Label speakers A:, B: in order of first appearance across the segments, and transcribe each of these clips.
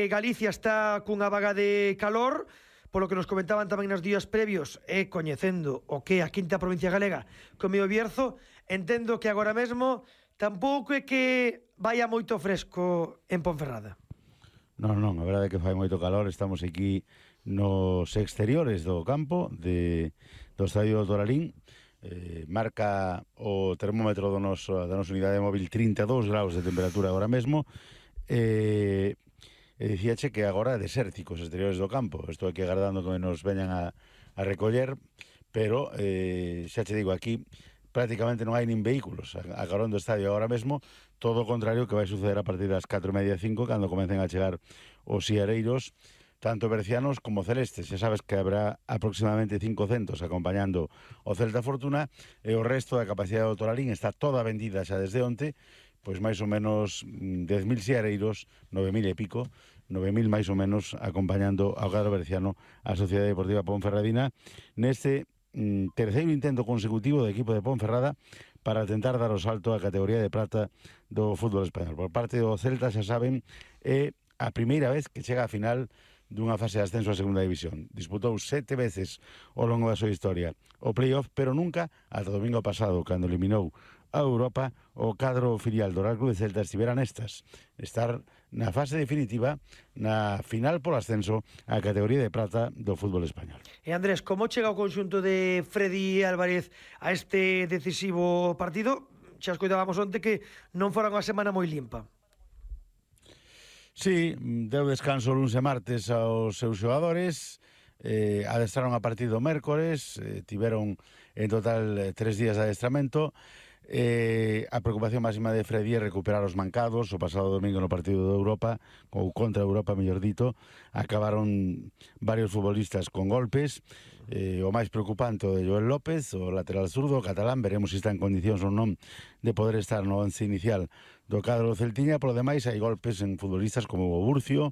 A: Galicia está cunha vaga de calor, polo que nos comentaban tamén nos días previos, e coñecendo o que é a quinta provincia galega como o Bierzo, entendo que agora mesmo tampouco é que vaya moito fresco en Ponferrada.
B: Non, a verdade é que fai moito calor. Estamos aquí nos exteriores do campo do Estadio do Toralín. Marca o termómetro da nosa unidade móvil 32 graus de temperatura agora mesmo. E dicíache que agora é desértico os exteriores do campo. Estou aquí agardando que nos veñan a recoller, pero xa che digo, aquí prácticamente non hai nin vehículos a carón do estadio agora mesmo. Todo o contrario que vai suceder a partir das 4:30, 5, cando comecen a chegar os siareiros, tanto bercianos como celestes. Xa sabes que habrá aproximadamente 500 acompañando o Celta Fortuna, e o resto da capacidade do Toralín está toda vendida xa desde onte, pois máis ou menos 10.000 siareiros, 9.000 e pico, 9.000 máis ou menos acompañando ao cadro berciano a Sociedade Deportiva Ponferradina neste terceiro intento consecutivo do equipo de Ponferrada para tentar dar o salto á categoría de prata do fútbol español. Por parte do Celta, xa saben, é a primeira vez que chega a final dunha fase de ascenso a segunda división. Disputou 7 veces ao longo da súa historia o playoff, pero nunca ata o domingo pasado, cando eliminou a Europa, o cadro filial do Real Club de Celta estivera nestas, estar na fase definitiva, na final polo ascenso á categoría de prata do fútbol español.
A: E Andrés, como chega o conxunto de Freddy Álvarez a este decisivo partido? Xa escoitábamos onte que non fora unha semana moi limpa.
B: Sí, deu descanso luns e martes aos seus xogadores, adestraron a partir do mércores, tiveron en total 3 días de adestramento. A preocupación máxima de Freddy é recuperar os mancados. O pasado domingo no partido de Europa, ou contra Europa, mellor dito, acabaron varios futbolistas con golpes. O máis preocupante o de Joel López, o lateral zurdo catalán. Veremos se está en condicións ou non de poder estar no once inicial do cadro do Celtiña. Por lo demais, hai golpes en futbolistas como o Burcio,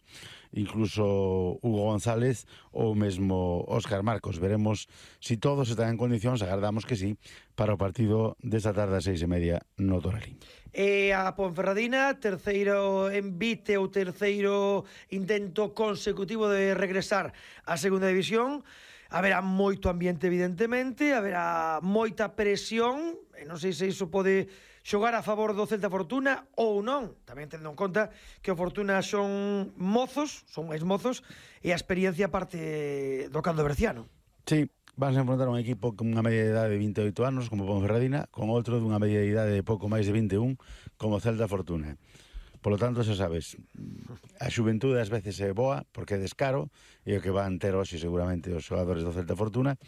B: incluso Hugo González ou mesmo Óscar Marcos. Veremos se todos están en condicións, agardamos que sí, para o partido desta tarde a 6:30 no Toralín.
A: E a Ponferradina, terceiro envite ou terceiro intento consecutivo de regresar á segunda división. Haberá moito ambiente, evidentemente, haberá moita presión, e non sei se iso pode xogar a favor do Celta Fortuna ou non, tamén tendo en conta que o Fortuna son mozos, son máis mozos, e a experiencia parte do caldo berciano.
B: Sí, vas a enfrontar un equipo con unha media de idade de 28 anos como Ponferradina, con outro dunha media de idade de pouco máis de 21 como Celta Fortuna. Por lo tanto, xa sabes, a xuventude ás veces é boa porque é descaro, e o que van ter hoxe seguramente os xogadores do Celta Fortuna.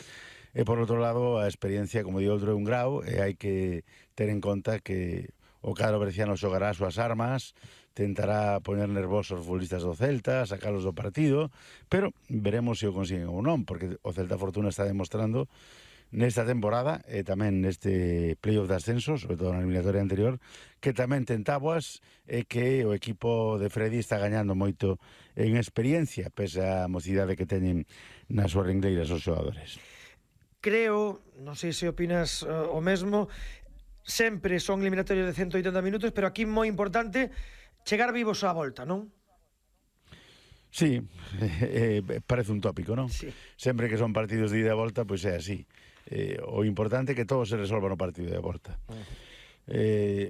B: E por outro lado, a experiencia, como di outro, é un grau, e hai que ter en conta que o cadro berciano xogará as súas armas, tentará poñer nervosos os futbolistas do Celta, sacalos do partido, pero veremos se o consiguen ou non, porque o Celta Fortuna está demostrando nesta temporada e tamén neste playoff de ascenso, sobre todo na eliminatoria anterior, que tamén ten táboas e que o equipo de Freddy está gañando moito en experiencia, pese a mocidade que teñen nas súas ringleiras os xogadores.
A: Creo, non sei se opinas o mesmo, sempre son eliminatorios de 180 minutos, pero aquí moi importante chegar vivos á volta, non?
B: Sí, parece un tópico, non?
A: Sí.
B: Sempre que son partidos de ida e volta, pois é así. O importante é que todo se resolva no partido de volta.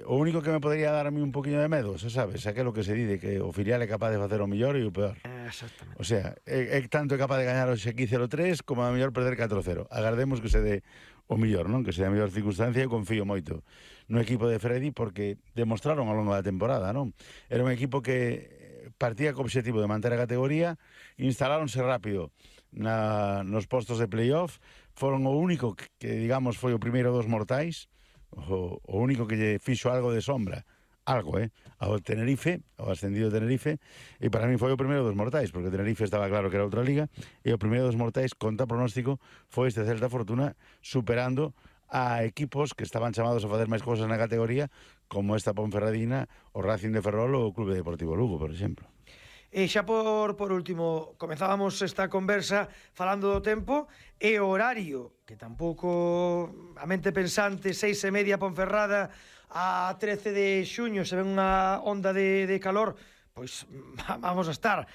B: O único que me podría dar a mí un poquinho de medo, xa sabes, aquilo que se dice que o filial é capaz de facer o mellor e o peor.
A: Exactamente.
B: O sea, é tanto capaz de gañar hoxe aquí 0-3 como a mellor perder 4-0. Agardemos que se dé o mellor, non? Que se dé a mellor circunstancia. Eu confío moito no equipo de Freddy porque demostraron ao longo da temporada, non? Era un equipo que partía co obxectivo de manter a categoría, instaláronse rápido nos postos de playoff, foron o único que digamos foi o primeiro dos mortais, o único que lle fixo algo de sombra, ao Tenerife, ao ascendido Tenerife, e para mí foi o primeiro dos mortais, porque o Tenerife estaba claro que era outra liga, e o primeiro dos mortais, contra pronóstico, foi este Celta Fortuna, superando a equipos que estaban chamados a facer máis cousas na categoría, como esta Ponferradina, o Racing de Ferrol ou o Clube Deportivo Lugo, por exemplo.
A: E xa por último, comenzábamos esta conversa falando do tempo e o horario, que tampouco a mente pensante, 6:30 Ponferrada a 13 de xuño, se ven unha onda de calor, pois vamos a estar